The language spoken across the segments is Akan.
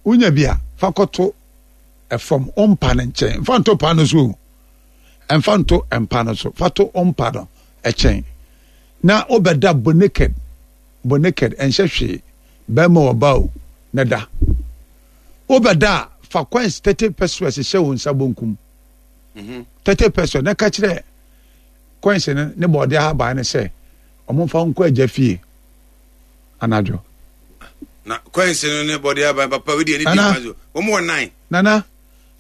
Wonya bi a, fa kɔto fam, wo mpa no nkyɛn. Mfa nto pa no so o. Mfa nto mpa no so. Fa to wo mpa no kyɛn. Na wobɛda bɔ naked. Bɔ naked, ɛnhyɛ hwee. Bɛrima ɔba o, na da. Wobɛda a, fa coins 30 pesos hyɛ wo nsa bonkum. 30 pesos na ka kyerɛ coins no ne bɔɔde ahaban no sɛ ɔmo mfa nkɔ agya fie anadwo. Na coins no ne bɔɔde ahaban papa wei deɛ ne di kwan so wɔn wɔ nan. Nana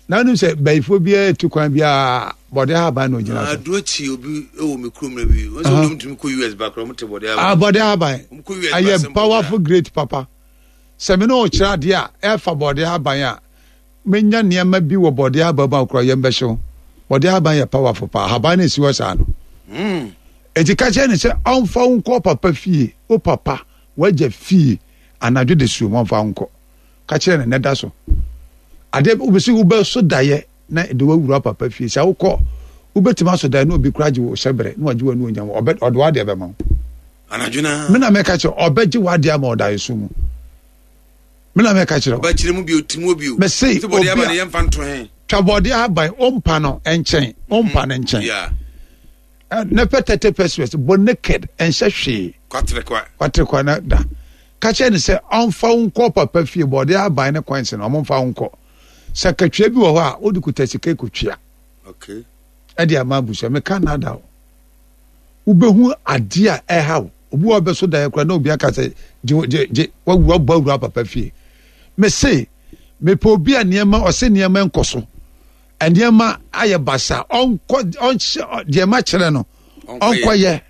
na wonim sɛ bayifoɔ biara tu kwan biara bɔɔde ahaban na ogyina so. Aduro kyi obi wɔ me kurom na bi wɔn sɛ wɔn tumi kɔ US ba koraa wɔn te bɔɔde ahaban. Ah bɔɔde ahaban ɛyɛ powerful great papa sɛ me ne ɔkyerɛ adeɛ a ɛfa bɔɔde ahaban a. Menya nneɛma bi wɔ bɔde ahaban mu a kura yam bɛhyew. Bɔde ahaban yɛ powerful paa. Ahaban no esi hɔ saa no. Hmm. Eti ka kyerɛ no sɛ ɔmfa wo nkɔ papa fie, wo papa, w'agya fie anadwo de suom ɔmfa wo nkɔ. Ka kyerɛ no na da so. Adeɛ wobɛsi wobɛso daeɛ na ɛde wawura papa fie. Sɛ wokɔ wobɛtumi aso daeɛ na obi kora gye wo hyɛbrɛ na wagye w'anuonyam ɔbɛ ɔde w'adeɛ bɛma wo. Anadwo na. Me na mɛka kyerɛ ɔbɛgye w'adeɛ ama ɔdaeɛ so mu. Me na mɛka kyerɛ wo. Ɔbɛkyerɛ mu bio, ti mu bio. Mese obi a yɛmfa nto he. Twa bɔɔde ahaban, ompa no nkyɛn, ompa no nkyɛn. Yeah. Ne pɛ 30 pesos, bɔ naked, ɛnhyɛ hwee. Kwatere kwa. Kwatere kwa na da. Ka kyerɛ ne sɛ ɔmfa wo nkɔ papa fie, bɔɔde ahaban ne coins no, ɔmo mfa wo nkɔ. Sɛ katua bi wɔ hɔ a, wode kuta sika kɔtua. Okay. Ɛde ama abusua, meka nada o. Wobɛhu adeɛ a ɛha wo. Obi wɔ bɛso daeɛ koraa na obi aka sɛ gye gye gye wawu abɔ awura papa fie. Mese mepɛ obi a nneɛma ɔse nneɛma nkɔ so. Nneɛma ayɛ basa ɔnkɔ ɔnhyɛ deɛ ma kyerɛ no ɔnkɔyɛ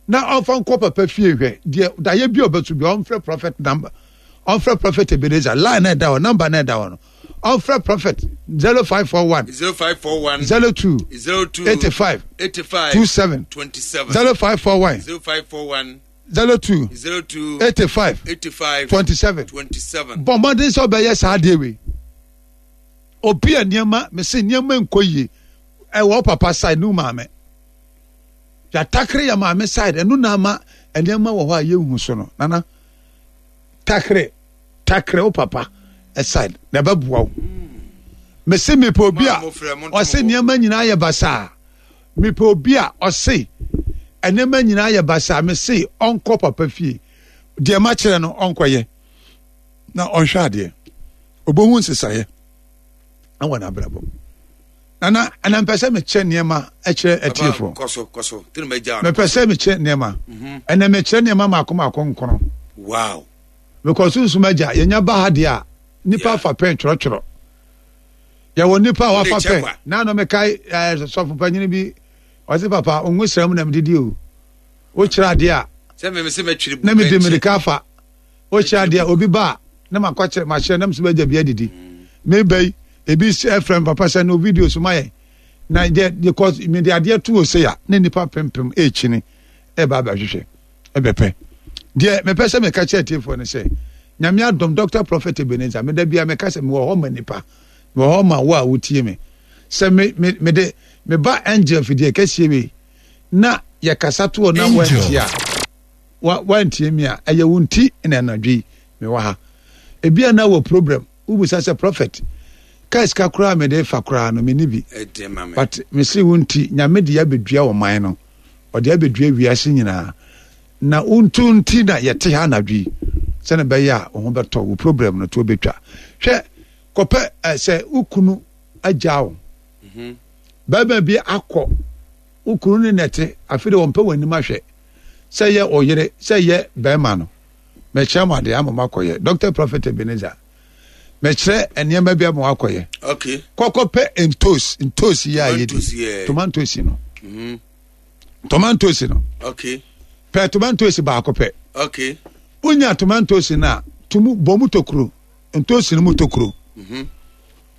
na ɔmfa nkɔ papa fie hwɛ deɛ daeɛ bi a ɔbɛso bi ɔmfrɛ prophet number ɔmfrɛ prophet Ebenezer line na ɛda hɔ number na ɛda hɔ no ɔmfrɛ prophet 0541 0541 02 02 85 85 27 27 0541 0541 02 02 85 85 27 27. Bɔ mmɔden sɛ ɔbɛyɛ saa adeɛ wei. Obi a nneɛma mese nneɛma nkɔ yie ɛwɔ papa side ne maame. Yɛatakere yɛ maame side ɛno na ama nneɛma wɔ hɔ a yɛnhu so no. Nana takere takere wo papa side na ɛbɛboa wo. Mese mepɛ obi a ɔse nneɛma nyinaa yɛ basaa. Mepɛ obi a ɔse nneɛma nyinaa yɛ basaa. Mese ɔnkɔ papa fie. Deɛ makyerɛ no ɔnkɔyɛ na ɔnhwɛ adeɛ. Ɔbɛhu nsesaeɛ wɔ n'abrabɔ mu. Nana, ɛna mpɛ sɛ mekyɛ nneɛma kyerɛ atiefoɔ. Mepɛ sɛ mekyɛ nneɛma. Mhm. Ɛnɛ mekyerɛ nneɛma maako maako nkono. Wow. Because sunsum agya, yɛnya ba ha deɛ a, nipa afa pɛn twerɛtwerɛ. Yɛwɔ nipa a wafa pɛn. Naano mekae eh, sɔfo panyin bi, ɔse papa, ongu sra mu na medidi o. Wokyerɛ adeɛ a, na mede mmirika afa. Wokyerɛ adeɛ a, obi ba a, na makɔkyerɛ, makyerɛ, na mesɛ bɛgya bi adidi. Meba yi, ebi ɛfrɛ me papa sɛ no video so ma yɛn. Na deɛ, because mede adeɛ to ose a, na nipa pempem ɛrekyini ɛba abɛhwehwɛ. Ɛbɛpɛ. Deɛ mepɛ sɛ meka kyerɛ atiefoɔ ne sɛ, Nyame adom Dr. Prophet Ebenezer, meda bia meka sɛ mewɔ hɔ ma nipa, mewɔ hɔ ma wo a wotie me. Sɛ me, me, mede, meba angel fidie kɛseɛ wei, na yɛkasa toɔ na wantie a, wa, wantie me a, ɛyɛ wo nti na anadwo yi mewɔ ha. Ebia na wɔ problem, wobisa sɛ prophet, kaa sika koraa mede fa koraa no, menni bi. But mese wo nti, Nyame de abɛdua ɔman no. Ɔde abɛdua wiase nyinaa. Na wo nto nti na yɛte ha anadwo yi, sɛne ɛbɛyɛ a wo ho bɛtɔ wo problem no to bɛtwa. Hwɛ, kɔpɛ eh, sɛ wo kunu agyaa wo. Mhm. Bɛrima bi akɔ wo kunu ne nɛte, afei de wɔmpɛ w'anim ahwɛ. Sɛ yɛ ɔyere, sɛ yɛ bɛrima no. Mɛkyerɛ mo adeɛ ama moakɔyɛ. Dr. Prophet Ebenezer. Mɛkyerɛ nneɛma bi ama wakɔyɛ. Okay. Kɔkɔ pɛ ntos, ntos yi a yɛdi. Tomatoes no. Mm. Tomatoes no. Okay. Pɛ tomatoes baako pɛ. Okay. Wonya tomatoes no a, tumu bɔ mu tokuro. Ntos no mu tokuro. Mm-hmm.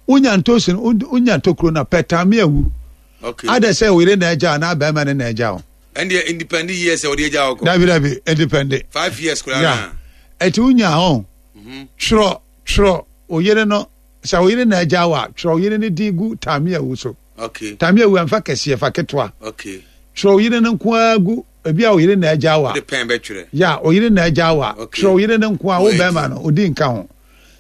Wonya ntos no, wonya tokuro no a, pɛ taame awu. Okay. Adɛ sɛ oyere na agya anaa bɛrima ne na agya o. Ɛndeɛ independent years a wɔde agya hɔ kɔ. Dabi dabi independent. 5 years koraa na. Ɛti wonya hɔ. Mhm. Twerɛ twerɛ oyere no sɛ oyere na agya wa twerɛ oyere no din gu taame awu so. Okay. Taame awu ɛnfa kɛseɛ fa ketewa. Okay. Twerɛ oyere no nko ara gu ebi a oyere na agya wa. De pɛn bɛtwerɛ. Ya oyere na agya wa. Okay. Twerɛ oyere no nko ara wo bɛrima no odi nka ho.